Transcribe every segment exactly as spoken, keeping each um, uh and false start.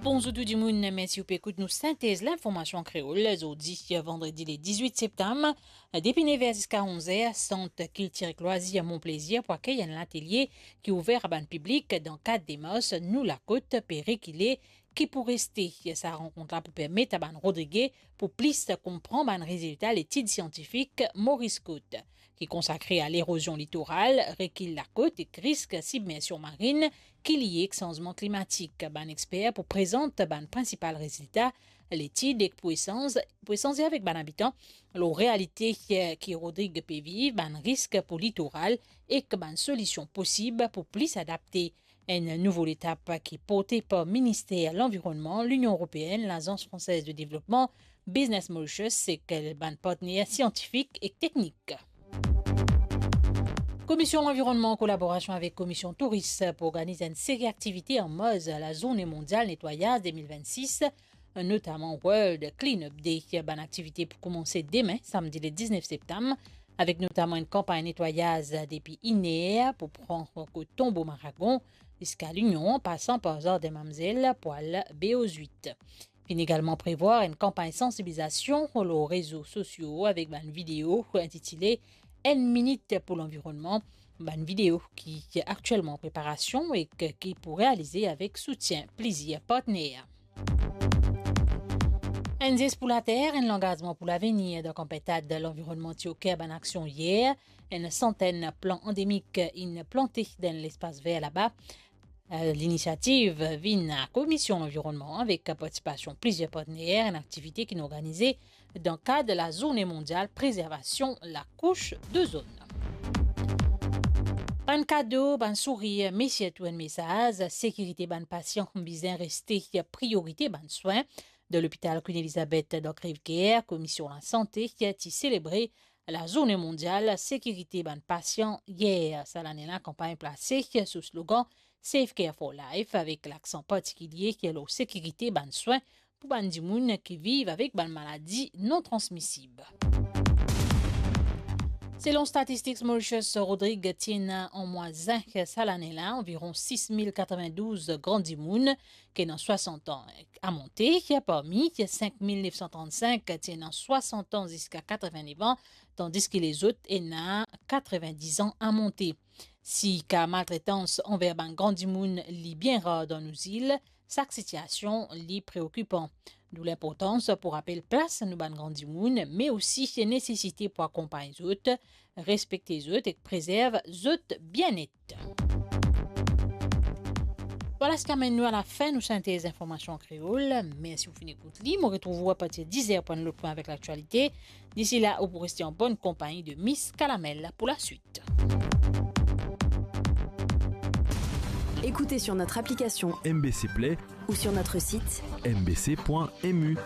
Bonzour tou dimoun, mersi ou pe ekout nou Sintez Linformasion Kreol. Zordi, vandredi le diz-wit septam, depi nev er ziska onz er, Sant Kiltir ek Lwazir Mon Plezir pou akey enn latelie ki ouver a bann piblik dan kad demars Nou Lakot pe rekile, ki pou reste. Sa rankont la pou permet a bann Rodrige pou plis konpran bann rezilta letid siantifik Maurice Cote, ki konsakre a lerozion litoral, rekil lakot ek risk sibmersion marin ki lie ek sanzman klimatik. Bann exper pou prezant bann prinsipal rezilta letid ek pou esanz, pou esanze avek bann abitan lor realite ki Rodrig pe viv, bann risk pou litoral ek bann solision posib pou plis adapte. Enn nouvo letap ki porte par Minister Lanvironnman, Linion Eropeenn, Lazans Fransez de Devlopman, Business Mauritius ek bann partner siantifik ek teknik. Komision Lanvironnman, an kolaborasion avek Komision Touris, pou organiz enn seri aktivite an marz Lazourne Mondial Netwayaz de mil vennsis, notaman World Cleanup Day. Bann aktivite pou koumanse demin, samdi le diznef septam, avek notaman enn kanpagn netwayaz depi iner pou pran kot Tonbo Maragon ziska Linion, an pasan par Zardin Mamzel pou al Beau Huit. Finn egalman prevwar enn kanpagn sansibilizasion lor rezo sosio avek bann video intitile Enn minit pou lanvironnman, bann video ki aktielman an preparasion ek ki pou realize avek soutien plizier partner. Enn zes pou later, enn langazman pou lavenir. Dan kanpagn Tad Lanvironnman ti oker bann aksion yer. Enn santenn plan andemik inn plante dan lespas ver laba. Eh, linisiativ vinn a Komision Lanvironnman avek partisipasion plizier partner, enn aktivite ki'nn organize dan kad Lazourne Mondial Prezervasion Lakous Dozonn. Bann kado, bann sourir, me sirtou enn mesaz, sekirite bann pasian bizin reste priorite bann swin. Dan lopital Queen Elizabeth dan Crèvecoeur, Komision Lasante ti selebre Lazourne Mondial Sekirite bann Pasian yer. Sa lane la, kanpagn plase sou slogan Safe Care for Life, avek laksan partikilie lor sekirite bann swin pou bann dimoun ki viv avek bann maladi non transmisib. Selon Statistics Mauritius, Rodrig ti ena an mwa zin sa lane la anviron sis mil katrevindouz gran dimoun ki ena swasant an a monte, parmi sink mil nef san trannsink ti ena swasant an ziska katrevin-nef an, tandis ki lezot ena katrevin-diz an a monte. Si ka maltretans anver bann gran dimoun li bien rar dan nou zil, sak sitiasion li preokipan. D'où linportans pou rapel plas nou bann gran dimoun, me osi nesesite pou akonpagn zot, respekte zot ek prezerv zot bienet. Vwala, sa amenn nou a lafin nou sintez linformasion an kreol. Mersi ou finn ekout li. Mo retrouv ou apartir diz er pou enn lot pwin avek laktialite. Disi la, ou pou reste an bonn konpagni de Miss Kalamel pou laswit. Écoutez sur notre application M B C Play ou sur notre site M B C point M U.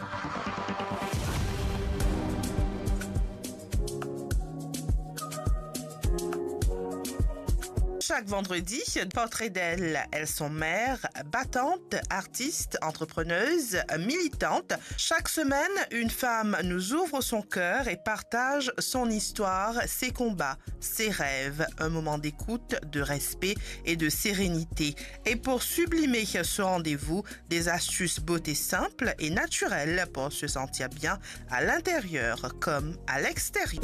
Chaque vendredi, portrait d'elle. Elles sont mères, battantes, artistes, entrepreneuses, militantes. Chaque semaine, une femme nous ouvre son cœur et partage son histoire, ses combats, ses rêves. Un moment d'écoute, de respect et de sérénité. Et pour sublimer ce rendez-vous, des astuces beauté simples et naturelles pour se sentir bien à l'intérieur comme à l'extérieur.